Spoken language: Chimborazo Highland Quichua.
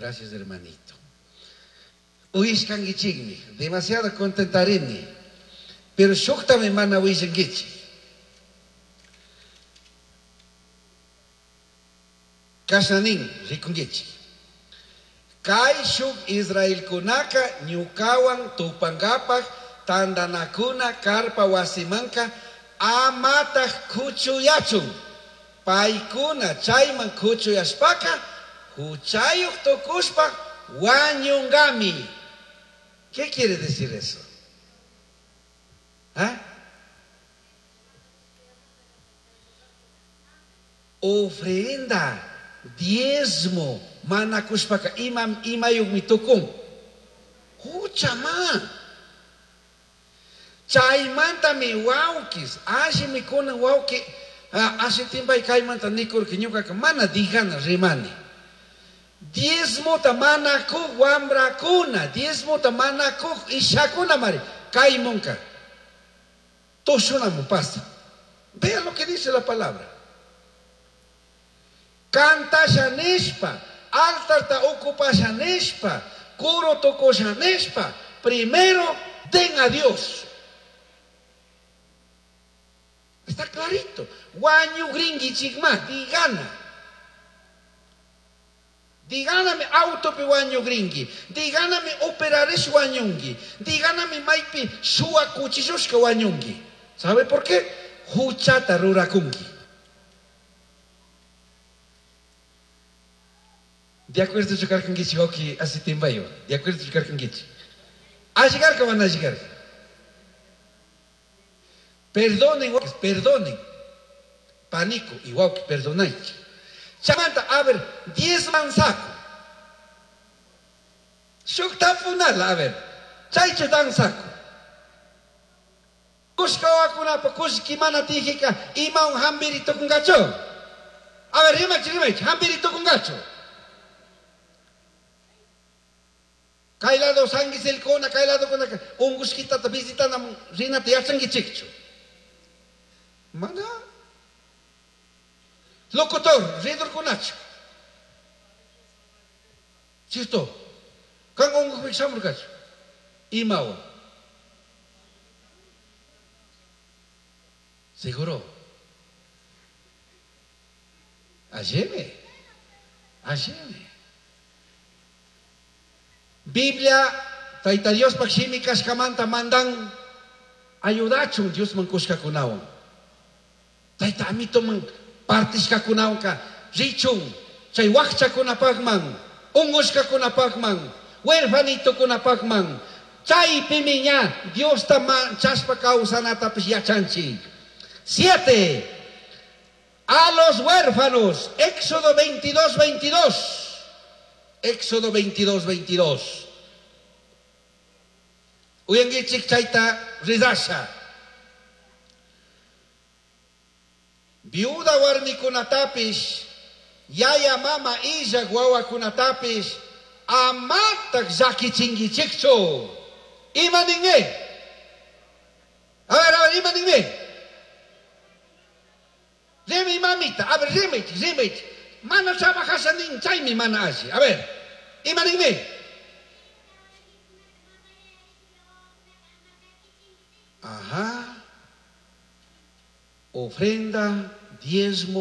Gracias, hermanito. Uyashkankichikmi, demasiado contentarini. Pero shuktami mana willankichik. Kashna nin, rikunkichik. Caishuj israelcunaca ñucahuan tupangapaj tandanacuna carpa huasimanca amataj cuchuyachun. Paicuna chaiman cuchuyashpaca juchayuj tucushpa huañungami. ¿Qué quiere decir eso? ¿Ah? Ofrenda, diezmo, mana cushpaca ima imayuqmi tukun. Huchama. Chaymantami wawkis, allimi kunan wawki ashitinpay kaymanta nikurka ñuqaqa mana dijana rimani. Diezmota mana kuq wambrakuna, diezmota mana kuq ishakuna mari, kaymunka. Tushunamun pasa. Vean lo que dice la palabra. Cantasha nishpa, altarta ocupasha nishpa, curo tukusha nishpa, primero den a Dios. Está clarito. Wañugrinkichikma, digana. Diganami autopi wañugrinki, diganami operarish wañunki, diganami maypi shuwa kuchishushka wañunki. ¿Sabe por qué? Huchata rurakunki. De acuerdo chukarkankichik wawki asitimbayo. De acuerdo chukarkankichik. Alligarka mana alligarka. Perdonen, perdonen. Pánico y wawki, perdonaychik. Chamanta, a ver, 10 mansaco. Shuk tapunala, a ver. Chaychu dansaco. Kushka wawakunapa kullki mana tijika imawan hampiri tukunkachu. A ver, rimaychik, rimaychik, hampiri tukunkachu. Kay lado sanguiselkuna, kay lado kunaka ungushkitata visitanaman rinata yachankichikchu. Mana. Locutor, ridurkunachu. ¿Cierto? Kan ungushpik shamurkachu. Imawan. Seguro. Alleme. Alleme. Biblia, Tayta Diospaj shimi kashkamanta mandan ayudachun Diosman kushkakunawan. Tayta amitoman partishkakunawanka richun chay wakchakunapakman, ungushkakunapakman, huerfanitokunapakman. Chaypimi ña Diosta manchashpa kawsanatapish yachanchik. 7. A los huérfanos, Éxodo 22, 22. Éxodo 22, 22. Uyankichik chayta ridasha. Viuda warmikunatapish, yaya mama illak wawakunatapish, amatak llakichinkichikchu. Ima ninmi? A ver, ima ninmi? Rimay mamita, a ver, rimaychik, rimaychik. Mana trabajasha nin, chaymi mana alli. A ver, ima ninmi? Ajá. Ofrenda, diezmo.